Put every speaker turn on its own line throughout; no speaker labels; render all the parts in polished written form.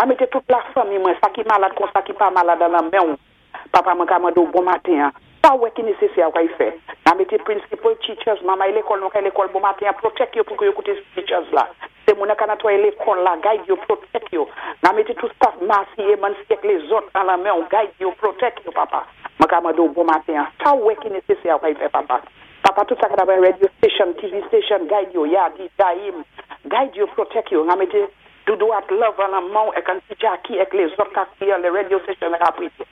Nan mété tout lafanmi mwen, sa ki malad kon sa ki pa malad an men Papa mwen ka mando bon maten. Sa wè ki nésésè ou kay fè. Nan mété principal teachers, mamay lékòl nou kay lékòl bon maten, protect yo pou yo kouté teachers la. Sé moun ka netwaye lékòl la, guide yo, protect yo. Nan mété tout staff Masi, Eman, ak lézòt an la men, guide yo, protect yo, papa. Mwen ka mando bon maten. Sa wè ki nésésè ou kay fè, papa. Papa, tout sa ki nan radio station, TV station, guide yo, ya, di, daim. Guide yo, protect yo. Nan mété Doudou ak love an la men, ek an ti Jackie, ek lézòt ka kriye, le radio station ka priye.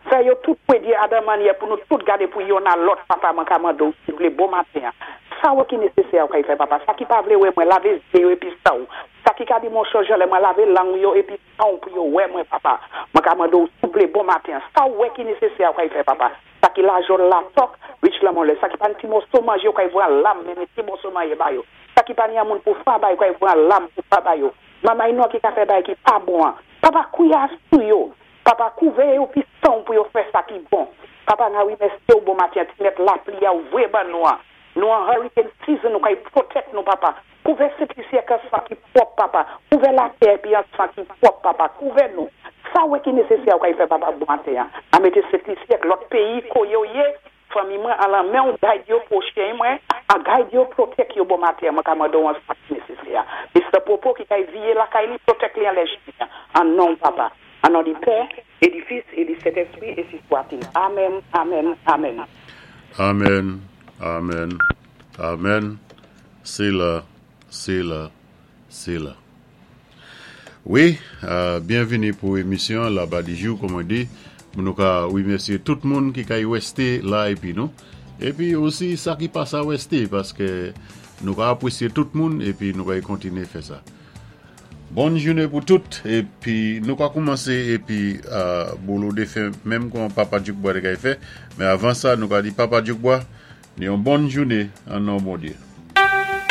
Fè yo tout pwédyé a dan mannyè pou nou tout gadé pou youn a lòt, papa mwen ka mando, souplé, bon maten. Sa wè ki nésésè ou kay fè, papa. Sa ki pa vlé wè mwen, lavé zé yo épi sa ou. Sa ki ka di mon chanje lè mwen lavé lang yo épi sa ou pou yo wè mwen, papa. Mwen ka mando, souplé, bon maten. Sa wè ki nésésè ou kay fè, papa. Sa ki la jol la tok, rich la mon lè. Sa ki pa ni ti moso manje ou kay vwa lam, men ti moso manje ba yo. Sa ki pa ni an moun pou fa ba yo, kay vwa lam pou fa ba yo. Mamay nou ki ka fè bay ki pa bon. Papa kouya sou yo. Papa kouvé yo pi san pou yo fè sa ki bon. Papa nga wimèsyé ou bon maten, ti mèt lapli a ou vwé ban nou an. Nou an hurricane season nou kay protect nou, papa. Kouvé Sent-Lisi ak an san ki pwòp, papa. Kouvé latè pi an san ki pwòp, papa. Kouvé nou. Sa wè ki nésésè ou kay fè, papa, bon maten. A mété Sent-Lisi ak lòt péyi ko yo yé. Fanmi mwen an la men ou guide yo pwochen mwen, a guide yo protect yo bon maten, mwen ka mando an sa ki nésésè. Mr. Popo ki kay viye la kay li, protect li an lè jè. An non papa. An non di Pè, é di Fis, é di Sentèspwi, énsi swat-il. Amen, amen, amen.
Amen, amen, amen. Séla, séla, séla. Wi, byenvini pou émisyon Laba di jou, kòm mwen di. Nou ka wimèsyé tout moun ki kay wèsté la épi nou. Épi osi sa ki pa sa wèsté, paské nou ka apwésyé tout moun épi nou kay kontiné fè sa. Bòn jouné pou tout épi nou ka koumansé épi bolo défen menm kon Papa Djoukbois té kay fè. Men avan sa nou ka di Papa Djoukbois, ni yon bòn jouné an non Bondyé.